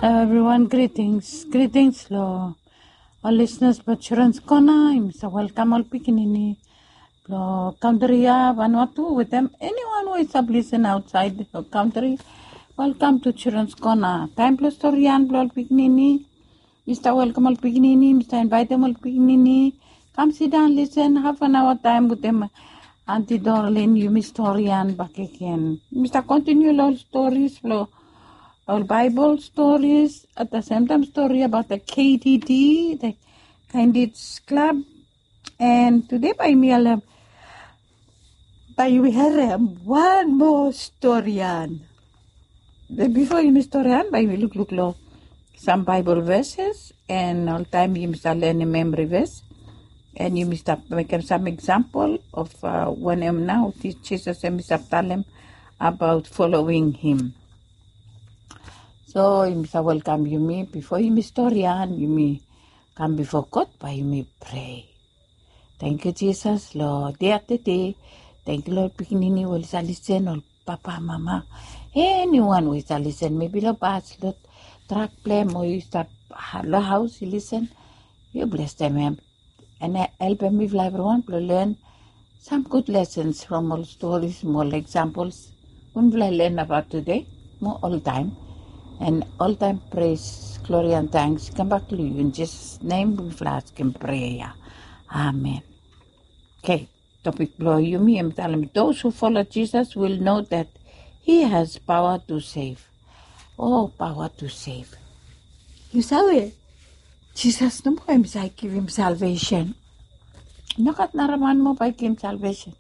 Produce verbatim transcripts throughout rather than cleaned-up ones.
Hello everyone, greetings. Greetings lo ol listeners blo Children's Corner. Yumi sa welkam ol pikinini blo kantri ya, Vanuatu, wetem anyone we i stap listen outside the country. Welcome to Children's Corner. Taem blo storian blo ol pikinini. Mi stap welkam ol pikinini, mi stap invaetem ol pikinini. Kam sidaon, listen, half an hour taem wetem Aunty Dorlin, yumi storian bakegen. Mi stap kontiniu lo ol stories blo ol Baebol stories, at the same time story about the K D D, the Candidates Club. And today bae yumi harem, bae yumi harem wan moa storian. Be bifo yumi storian, bae yumi lukluk lo sam Baebol verses, and oltaem yumi sa lenem memory verse, and yumi stap mekem sam example of, uh, wanem nao Jisas hemi stap talem about following him. So yumi sa welkam yumi, bifo yumi storian, yumi kam bifo God, bae yumi prea. Tangkiu Jisas lo dei afta dei. Tangkiu lo ol pikinini we oli sa lisen, ol papa, mama, eniwan we i sa lisen, mebi lo bas, lo trak blem, o yu stap lo haos i lisen. Yu blesem hem. And helpem mifala evriwan blo len sam gud lessons from ol stories mo ol examples we mifala i len abaot tede mo oltaem. And oltaem pres, glori and thanks i kambak lo yu. In Jisas nem mifala askem prea ya. Amen. Okay, topik blo yumi hem i talem, those who follow Jesus will know that he has power to save. Oh, power to save. Yu save, Jisas nomo hem i save givim salvation. Nogat nara man moa bae i givim salvation.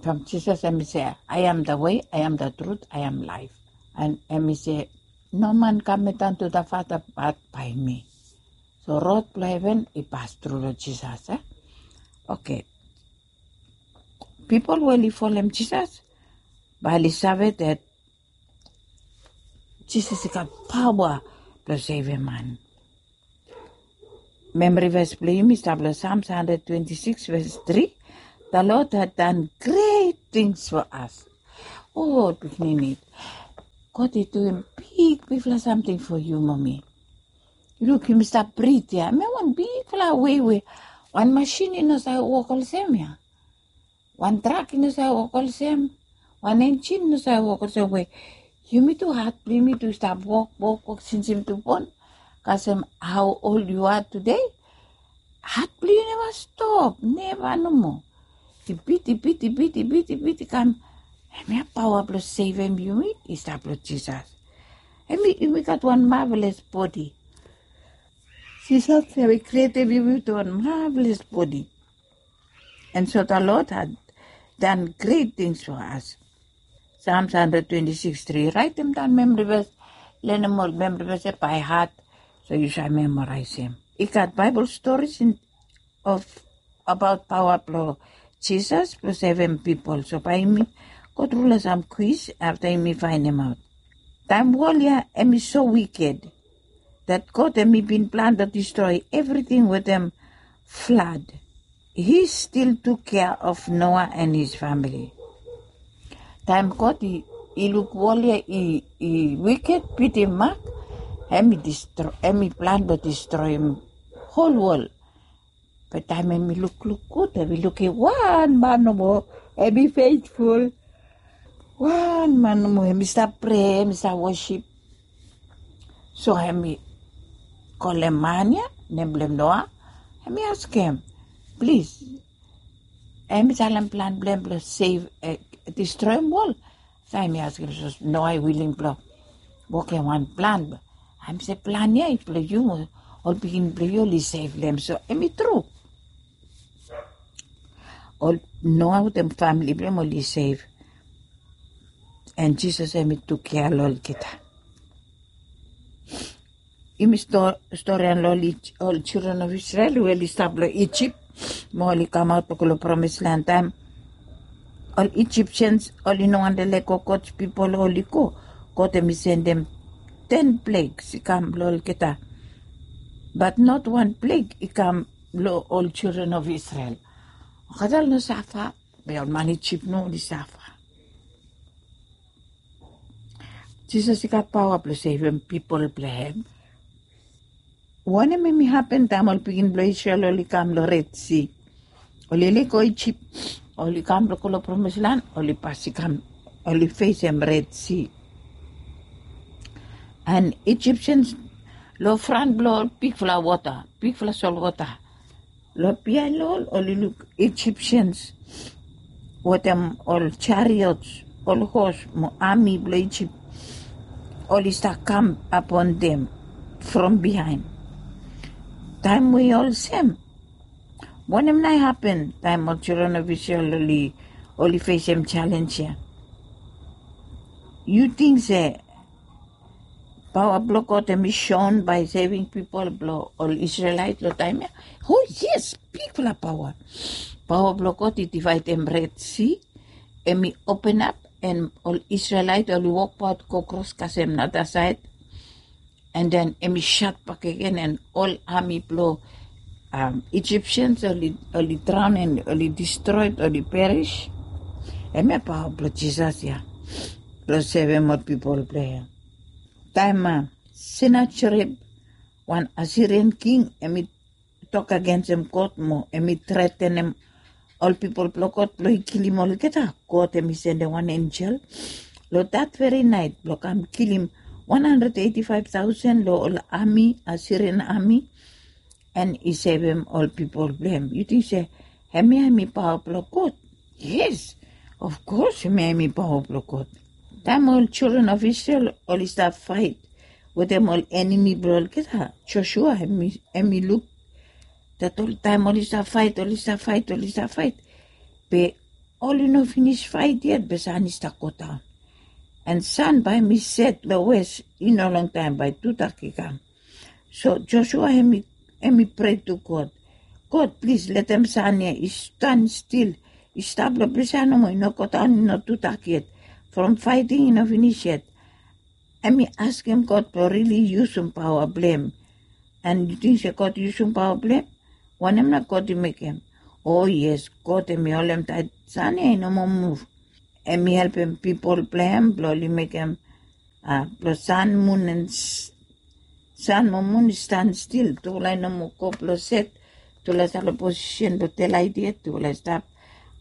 From Jisas hem i se, I am the way, I am the truth, I am life. And hem i se, no man kam i tan to the Father but by me. So rod blo heven i pas tru lo Jisas, eh? Okay. Pipol we oli folem Jisas bae oli save that Jisas i gat paoa blo sevem man. Memory verse blo yumi i stap lo Psalms hundred twenty-six verse three. The Lord had done great things for us. O pikinini, God i duim bigbigfala samting fo yu mo mi. Luk, yumi stap brit ya. Hem ya wan bigfala wei we wan masin i no save wok olsem ya. Wan trak i no save wok olsem. Wan enjin i no save wok olsem we yumi tu, hat blo yumi tu i stap wok, wok, wok since yumi tu bon. Kasem hao ol yu are tede, hat blo yu neva stop, neva nomo. I bit, i bit, i bit, i bit, i bit, i kam. Hemia paoa blo sevem yumi i stap lo Jisas. Hemi, yumi gat wan marvelous bodi. Jisas hemi krietem yumi wetem wan marvelous bodi. And so the Lord had done great things for us. Psalms hundred twenty-six three. Raetem daon memory verse, lenem ol memory verse ya by heart, so yu save memoraesem. I gat Bible stories in, of, abaot paoa blo Jisas blo sevem pipol. So bae yumi go tru lo sam kwis afta yumi faenemaot. Taem wol ya hemi so wiked that God hemi bin plan blo distroe evriting wetem flood, he still took care of Noah and his family. Taem God i, i luk wol ya i, i wiked, pitim mak, hemi distro-, hemi plan blo distroem hol wol. Be taem hemi lukluk gud, hemi lukim wan man nomo hemi feitful. Wan man nomo hemi stap prea, hemi stap wosip. So hemi kolem man ya, nem blong hem Noa, hemi askem, plis, hemi talem plan blong hem blong sev, eh, distroem wol. So hemi askem, sapos Noa i wiling blong wokem wan plan, hemi se plan ya i blong yu mo ol pikinini blong yu oli sev long hem. So hemi tru. Ol Noa wetem famili blong hem oli sev. And Jisas hemi tuk kea long olgeta. Yumi sto-, storian long ol Ij-, ol children of Israel we oli stap long Ijip mo oli kamaot long go long promise land taem ol Egyptians oli no wantem lego God's people oli go. God hemi sendem ten plagues i kam long olgeta. But not wan plague i kam long ol children of Israel. Olgeta oli no safa, be ol man Ijip nomo oli safa. Jisas i gat paoa blong sevem pipol blong hem. Wanem em i hapen taem ol pikinini blong Isrel oli kam long Red Si? Oli lego Ijip, oli kam blong go long promis lan, oli pas i kam, oli fesem Red Si. And Ijipsians long fran blong ol bigfala wota, bigfala solwota. Long biaen long ol, oli luk Ijipsians wetem ol chariots, ol hos mo ami blong Ijip, oli stap kam apon dem from biaen. Taem we i olsem, wanem nao i hapen taem ol children of Israel oli, oli fesem challenge ya? Yu ting se paoa blong God em i shown by saving pipol blong ol Israelite long taem ya? Oh yes, bigfala paoa. Paoa blong God i divaedem Red Si, em i openap, and ol Israelite oli wokbaot go kros kasem nadasaed. And then em i shat bakegen, and ol ami blong um, Ijipsians oli, oli draon and oli distroed, oli peris. Hemia paoa blong Jisas ya blong sevem ol pipol blong hem. Taem Senacherib, wan Asirian king, em i tok agensem God mo em i tretenem ol pipol blong God blong i kilim olgeta, God em i sendem wan enjel long dat veri naet blong kam kilim wan handred eiti faef taosen long ol ami, Asirian ami, and i sevem ol pipol blong hem. Yu ting se hemia em i paoa blong God? Yes, of course hemia em i paoa blong God. Taem ol children of Israel oli stap faet wetem ol enemi blong olgeta, Josua em i, em i luk dat ol taem oli stap faet, oli stap faet, oli stap faet, be oli no finis faet yet be san i stap godaon. And san bae em i set long wes, i no longtaem bae tudak i kam. So Josua em i, em i prea tu God, God, plis letem san ya i stan stil, i stap long ples ya nomo, i no godaon, i no tudak yet. From faeting i no finis yet. Em i askem God blong rili yusum paoa blong hem. And yu ting se God i yusum paoa blong hem? Wanem nao God i mekem? O yes, God em i holem taet san ya i no moa muv. Em i helpem pipol blong hem blong oli mekem, a, blong san, mun and san mo mun i stan stil. Tufala i no moa go blong set, tufala i stap long posisen blong delaet yet, tufala i stap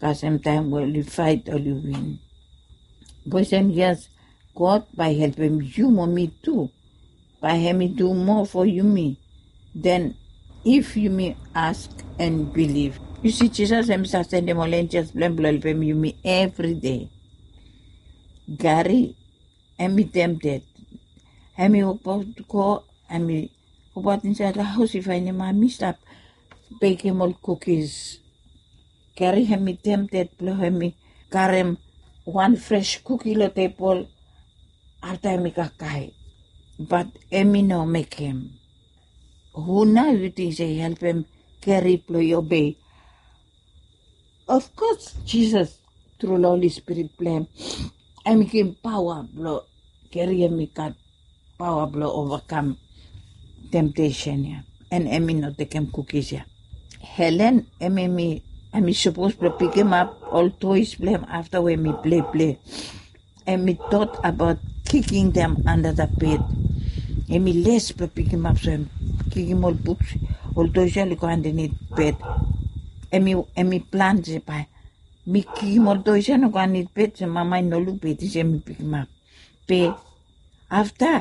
kasem taem we oli faet oli win. Boes and girls, God bae helpem yu mo mi tu. Bae hem i du moa fo yumi den if yumi ask and bilif. Yu si, Jisas hem i stap sendem ol enjels blong hem blong helpem yumi evri dei. Gari hem i temted. Hem i wokbaot go, hem i wokbaot insaed long haos, i faenem mami i stap bekem ol kukis. Gari hem i temted blong hem i karem wan fres kuki long tebol afta hem i kakae. Bat hem i no mekem. Hu nao yu ting se i helpem Gari blong i obei? Of course, Jisas, tru long Holi Spirit blong hem, hem i givim paoa blong Gari, hem i gat paoa blong ovakam temtesen ya. And hem i no tekem kukis ya. Helen, hem, hem i, hem i sapos blong pikimap ol toes blong hem afta we hem i pleiplei. Hem i tot abaot kikim dem under the bed. Hem i les blong pikimap, so hem kikim ol buks, ol toes ya oli go andanit bed. Hem i, hem i plan se bae mi kikim ol toes ya no go andanit bed, se mama i no luk, be i ting se hem i pikimap. Be afta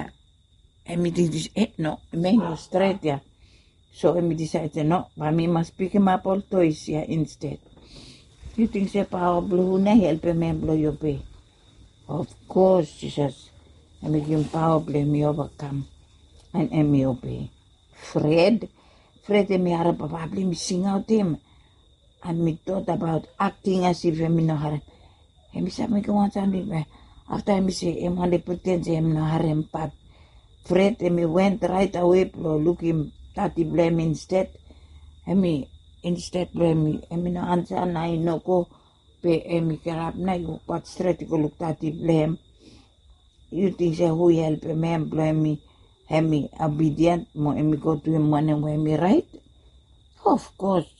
hem i tingting se, e, no, hemia i no stret ya. So hem i disaed se, no, bae mi mas pikimap ol toes ya insted. Yu ting se paoa blong hu nao i helpem hem blong i obei? Of course, Jisas. Hem i givim paoa blong hem i ovakam and hem i obei. Fred, Fred hem i harem papa blong hem i singaotem. Hem i tot abaot akting as if hem i no harem. Hem i save mekem wan samting, be afta hem i se hem wantem priten se hem no harem, bat Fred hem i went raet awe blong lukim dadi blong hem insted. Hem i, insted blong hem i, hem i no ansa, nao i no go, be hem i kirap nao i wokbaot stret i go luk dadi blong hem. Yu ting se hu i helpem hem blong hem i, hem i obidien mo hem i go duim wanem we hem i raet? Of course,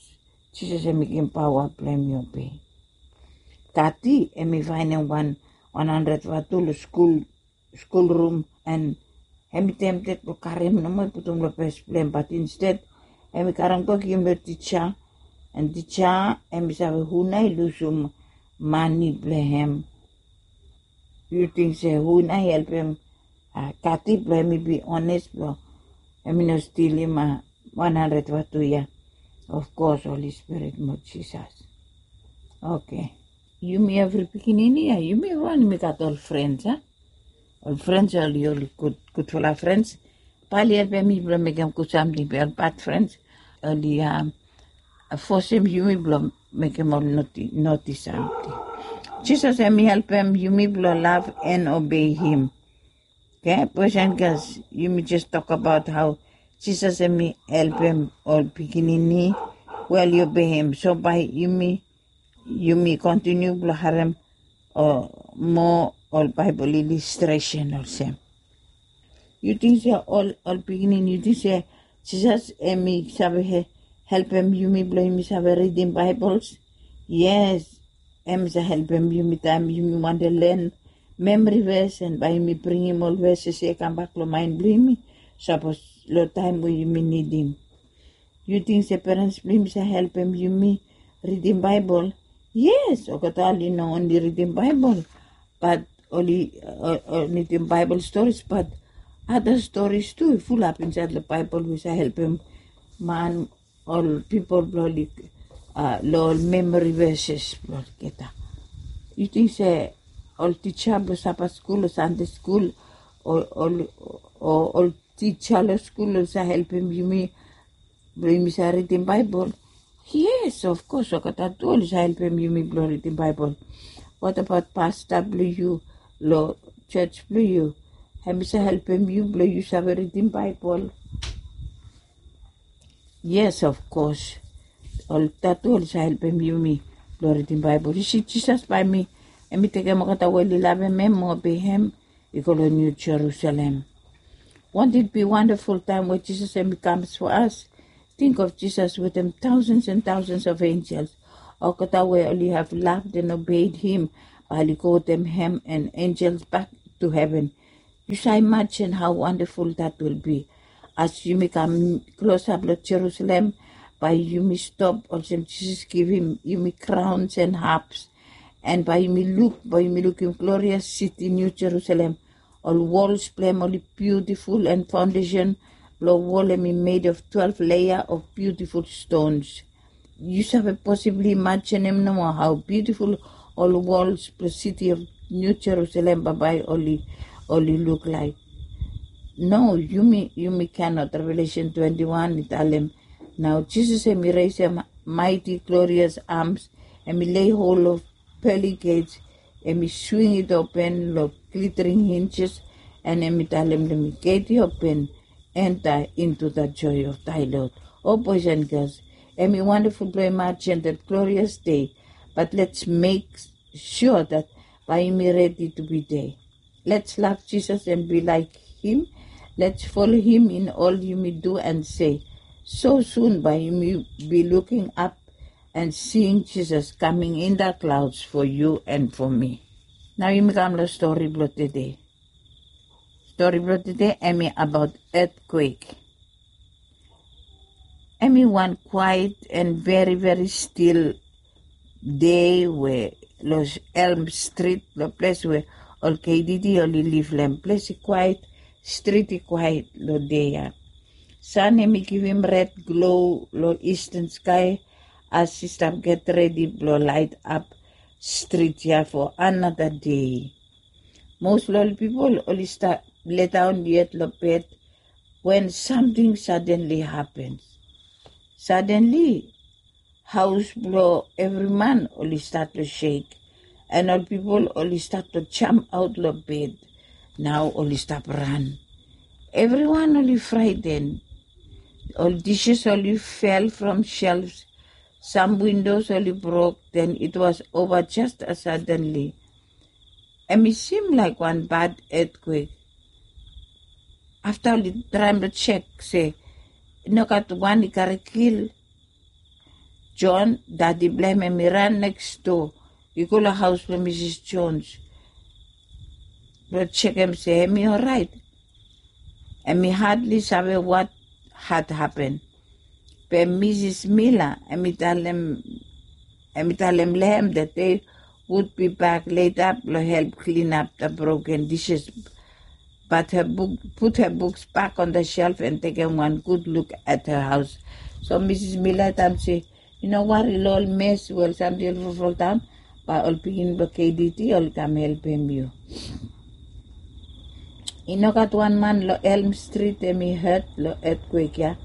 Jisas hem i givim paoa blong hem i obei. Dadi hem i faenem wan, wan handred vatu long skul skul rum, and hem i tempted blong karim nomo i putum long pes blong hem, bat insted hem i karim go givim long tija, and tija hem i save hu nao i lusum mani blong hem. Yu ting se hu nao i helpem Kati blong hem i bi ones blong hem i no stilim wan handred vatu ya? Of kos Holi Spirit mo Jisas. Oke. Yumi evri pikinini ya, yumi evriwan yumi gat ol frens a? Ol frens oli oli gudfala frens. Bae oli helpem yumi blong mekem gud samting, be ol bad frens oli fosem yumi blong mekem ol noti samting. Jisas hem i helpem yumi blong lav and obei him. Oke, boys and girls, yumi jes tokabaot hao Jisas hem i helpem ol pikinini we oli obei hem. So bae yumi yumi kontiniu blong harem moa ol Baebol ilistresen olsem. Yu ting se ol pikinini, yu ting se Jisas hem i save helpem yumi blong yumi save ridim Baebol? Yes, hem i save helpem yumi taem yumi wantem len memori ves, and bae yumi bringim ol ves ya kambak long maen blong yumi sapos long taem we yumi nidim. Yu ting se perens blong yumi save helpem yumi ridim Baebol? Yes, olgeta oli no onli ridim Baebol, bat oli nidim Baebol storis, bat ada storis tu i fulap insaed long Baebol we save helpem man, ol pipol blong oli long ol memori veses blong olgeta. Yu ting se ol tija blong Sabat skul o Sande skul o ol tija long skul oli save helpem yumi blong yumi save ridim Baebol? Yes, of kos olgeta tu oli save helpem yumi blong ridim Baebol. Wat abaot pasta blong yu long jos blong yu? Hem i save helpem yu blong yu save ridim Baebol? Yes, of kos. Olgeta tu oli save helpem yumi blong ridim Baebol. Yu si, Jisas bae hem i tekem olgeta we oli lavem hem mo obei hem i go long Niu Jerusalem. Won't it be wonderful taem we Jisas hem i kam for us? Think of Jesus wetem thousands and thousands of angels. Olgeta we oli have loved and obeyed him bae oli go wetem hem and angels back to heaven. Yu save imajen hao wonderful that will be. As yumi kam klosap long Jerusalem, bae yumi stop olsem Jisas givim yumi crowns and harps, and bae yumi luk, bae yumi lukim glorious city New Jerusalem. Ol wols blong hem oli beautiful, and foundation blong wol hem i made of twelve layer of beautiful stones. Yu save possibly imajinim nomo hao beautiful ol wols blong city of New Jerusalem bambae oli oli luk laek? No, yumi yumi cannot. Revelation twenty-one i talem, nao Jisas hem i resem mighty glorious arms, hem i lay hold of pearly gates, hem i swing it open long glittering hinges, and hem i talem long mi, gate i open, enter into the joy of thy Lord. O boys and girls, hem i wonderful blong imajin that glorious day, but let's make sure that bae yumi ready to be there. Let's love Jesus and be like him. Let's follow him in all yumi do and say. So soon bae yumi be looking up and seeing Jesus coming in the clouds for you and for me. Nao yumi kam long stori blong tede. Stori blong tede hem i abaot earthquake. Hem i wan quiet and very very still day we long Elm Street, long ples we ol K D D oli liv long hem. Ples i quiet, strit i quiet long dei ya. San hem i givim red glow long eastern sky as i stap get redi blong laet ap strit ya for another day. Mos long ol pipol oli stap ledaon yet long bed wen samting sadenli hapen. Sadenli haos blong evri man oli stat long shek, and ol pipol oli stat long jam aot long bed. Nao oli stap ran. Evriwan oli fraeten. Ol dishes oli fel from shelves. Sam windows oli brok. Then it was over just as suddenly. Hem i sim laek wan bad earthquake. Afta oli traem long jek se i no gat wan i kare kil John, dadi blong hem hem i ran neks doa i go long haos blong Misis Jones. blong jekem se hemi oraet. Hemi hadli save wat had hapen. Be Misis Mila hemi talem, hemi talem long hem that they would be back later blong help clean up the broken dishes. But her book, put her books back on the shelf and tekem wan gud luk at her house. So Misis Mila i talem se, i no wari long ol mes we ol samting oli folfoldaon, bae ol pikinini blong K D D oli kam helpem yu. I no gat wan man long Elm Street hemi hurt long etkwek ya,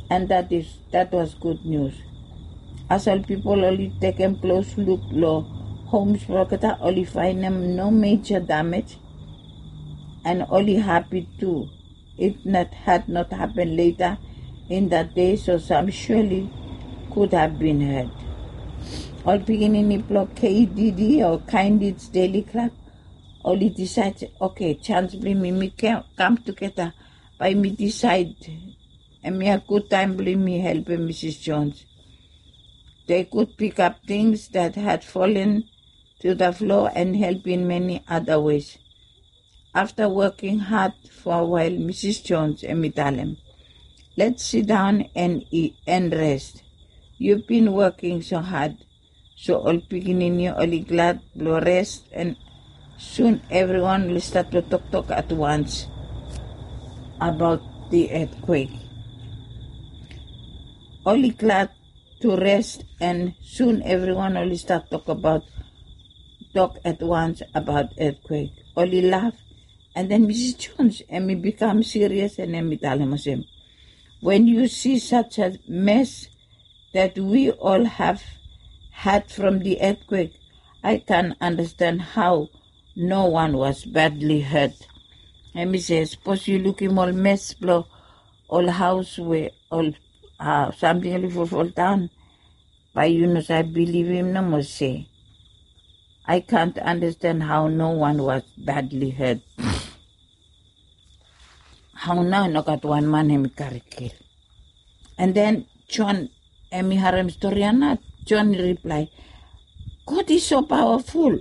and that is, that was good news. As ol pipol oli tekem klos luk long homes blong olgeta, oli faenem no major damage, and oli hapi tu. It not, had not happened later in that day, so some surely could have been hurt. Ol pikinini blong K D D o Kindness Daily Club oli disaed, okay, jans blong yumi, yumi ke-, kam tugeta, bae yumi disaed hemia gud taem blong yumi helpem Misis Jones. They could pick up things that had fallen to the floor and help in many other ways. After working hard for a while, Misis Jones hemi talem, let's sit down and eat and rest. You've been working so hard. So ol pikinini oli glad blong res, and soon everyone oli stat blong toktok at once about the earthquake. Oli glad to rest, and soon everyone oli stat tok about, tok at once about earthquake. Oli laf, and then Misis Jones hemi bikam serious and hemi talem olsem, when you see such a mess that we all have had from the earthquake, I can't understand how no one was badly hurt. Hemi se, sapos yu lukim ol mes blong ol haos we ol, ah, samting oli folfoldaon, bae yu no save bilivim nomo se, I can't understand how no one was badly hurt. Hao nao i no gat wan man hemi kare kil? And then John hemi harem stori ya nao, John i riplae, God is so powerful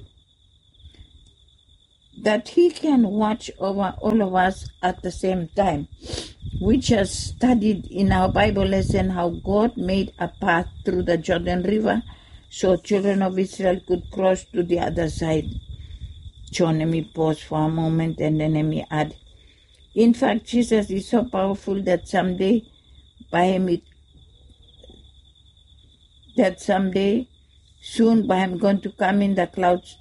that he can watch over all of us at the same time. We just studied in our Bible lesson how God made a path through the Jordan River so children of Israel could cross to the other side. John hemi pause for a moment and then hemi add, in fact, Jesus is so powerful that someday bae hemi, that someday soon bae hemi going to come in the clouds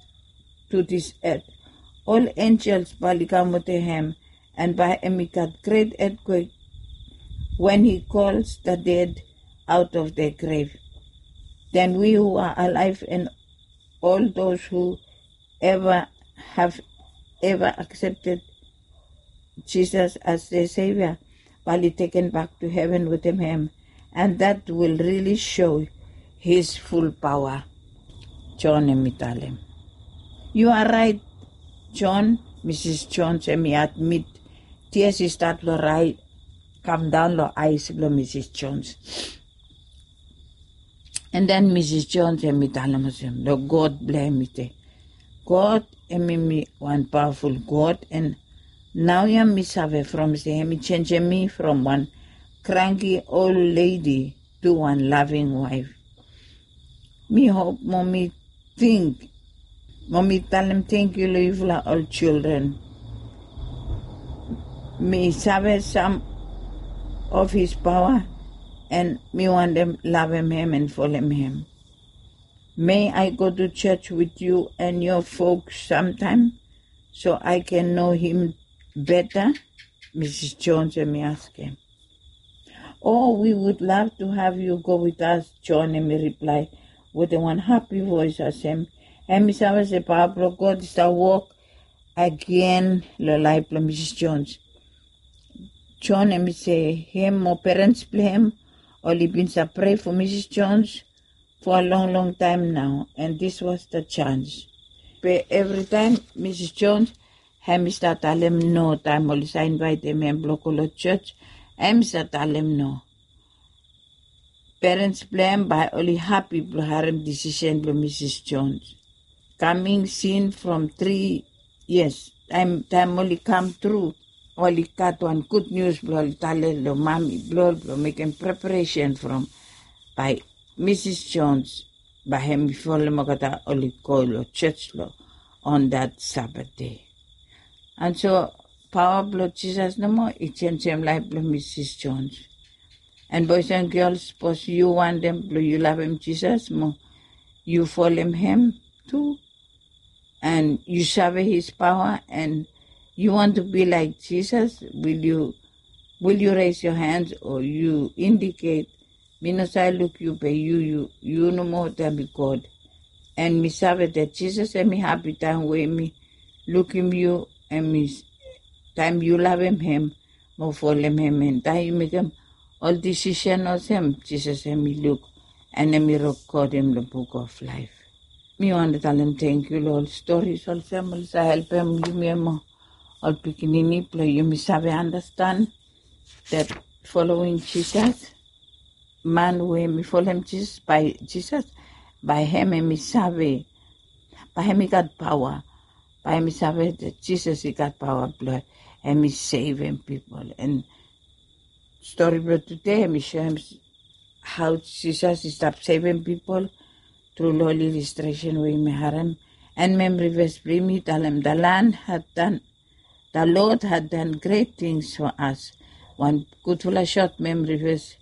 to this earth. All angels bae oli kam wetem hem, and bae hemi gat great earthquake when he calls the dead out of their grave. Then we who are alive and all those who ever have ever accepted Jesus as their Savior, bae oli taken back to heaven wetem hem, and that will really show his full power. John hemi talem, you are right, John. Misis Jones hemi admit, tears i stat long rai, kam daon long aes blong Misis Jones. And then Misis Jones hemi talem olsem long God blong hem, i se, God hemi mi wan pawaful God, and naoia mi save from se hemi jenjem mi from wan kranki ol ledi to wan laving waef. Mi hop mo mi ting, mo mi talem tangkiu long yufala ol jildren. Mi save sam of his paoa, and mi wantem lavem hem and folem hem. May I go to church with you and your folks sometime so I can know him better? Misis Jones hemi askem. Oh, we would love to have you go with us, John hemi riplae wetem wan hapi voes olsem hemi save se paoa blong God i stap wok agen long laef blong Misis Jones. John hemi se hem mo perens blong hem oli bin save prea for Misis Jones for a long long taem nao, and this was the chance. Be evritaem Misis Jones hemi stap talem no taem oli save invaetem hem blong go long jos, hemi stap talem no. Perens blong hem bae oli hapi blong harem disisen blong Misis Jones. Coming soon from three years, taem taem oli kam tru, oli gat wan gud nius blong oli talem long mami blong oli blong mekem preparesen from bae Misis Jones bae hem i folem olgeta oli go long jos long on dat Sabat dei. And so paoa blong Jisas nomo i jenisim laef blong Misis Jones. And boes and gels, sapos yu wantem blong yu lavem Jisas mo yu folem hem tu, and yu save his paoa, and yu want to be like Jisas, will yu will yu res yo hands o yu indiket, mi no save luk yu be yu yu yu nomo taem i God. And mi save dat Jisas hem i hapi taem we mi lukim yu, hem i taem yu lavem hem mo folem hem, and taem yu mekem ol disisen olsem, Jisas hem i luk and hem i rekodem long buk of laef. Mi wantem talem tangkiu long ol storis olsem oli save helpem yumi mo ol pikinini blong yumi save andastan dat folowing Jisas, man we hem i folem Jisas, bae Jisas, bae hem hem i save, bae hem i gat paoa, bae hem i save dat Jisas i gat paoa blong hem i sevem pipol. And stori blong tude hem i soem hao Jisas i stap sevem pipol tru long ol ilistresen we yumi harem. And memri ves blong yumi i talem, the Lord had done, the Lord had done great things for us. Wan gudfala sot memri ves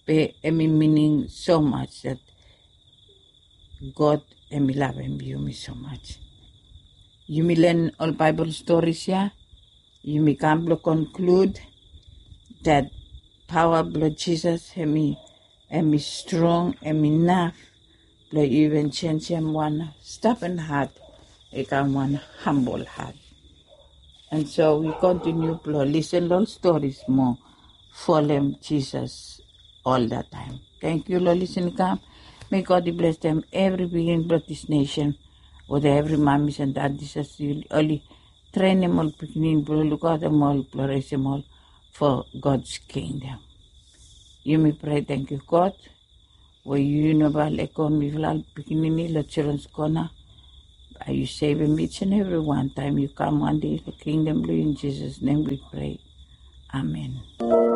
be hem i mining so much dat God hem i lavem yumi so much. Yumi len ol Baebol storis ya, yumi kam blong konklud dat paoa blong Jisas hem i hem i strong, hem i naf blong i even jenisim wan stubborn hat i kam wan hambol hat. And so wi kontiniu blong lisen long ol storis mo folem Jisas ol da taem. Tangkiu long lisen i kam. May God i blesem evri pikinini blong dis nesen, wetem evri mamis and dadis as oli trenem ol pikinini blong lukaotem ol blong resem ol for God's kingdom. Yumi prea, tangkiu God we yu no bae lego mifala ol pikinini long Children's Corner. Bae yu sevem each and every wan taem yu kam wan dei long kingdom blong yu. In Jisas nem wi prea. Amen.